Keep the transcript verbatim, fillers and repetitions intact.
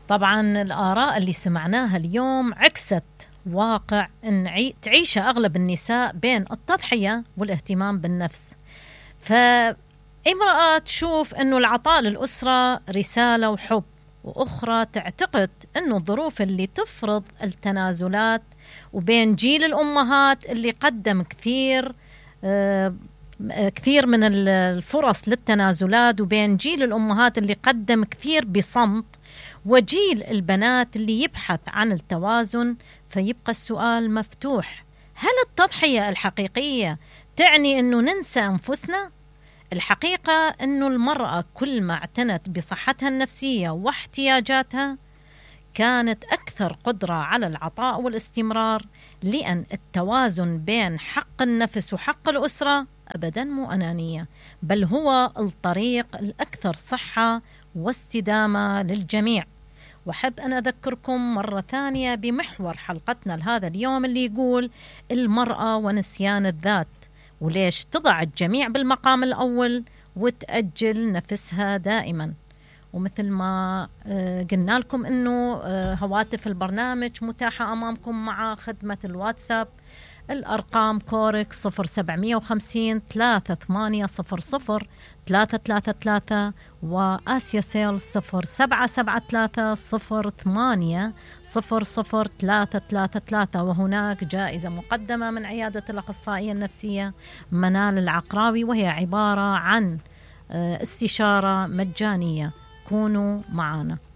طبعا الآراء اللي سمعناها اليوم عكست واقع نعي... تعيشه أغلب النساء بين التضحية والاهتمام بالنفس. فامرأة تشوف أنه العطاء للأسرة رسالة وحب، وأخرى تعتقد أنه الظروف اللي تفرض التنازلات، وبين جيل الأمهات اللي قدم كثير آه كثير من الفرص للتنازلات، وبين جيل الأمهات اللي قدم كثير بصمت، وجيل البنات اللي يبحث عن التوازن. فيبقى السؤال مفتوح: هل التضحية الحقيقية تعني أنه ننسى أنفسنا؟ الحقيقة أنه المرأة كل ما اعتنت بصحتها النفسية واحتياجاتها كانت أكثر قدرة على العطاء والاستمرار، لأن التوازن بين حق النفس وحق الأسرة أبداً مو أنانية، بل هو الطريق الأكثر صحة واستدامة للجميع. وحب أن أذكركم مرة ثانية بمحور حلقتنا لهذا اليوم اللي يقول المرأة ونسيان الذات، وليش تضع الجميع بالمقام الأول وتأجل نفسها دائما. ومثل ما قلنا لكم أنه هواتف البرنامج متاحة أمامكم مع خدمة الواتساب، الأرقام كورك صفر سبعمية وخمسين ثلاثة ثمانية صفر صفر ثلاثة ثلاثة ثلاثة، وآسيا سيل صفر سبعة سبعة ثلاثة صفر ثمانية صفر صفر ثلاثة ثلاثة ثلاثة. وهناك جائزة مقدمة من عيادة الأخصائية النفسية منال العقراوي، وهي عبارة عن استشارة مجانية. كونوا معنا.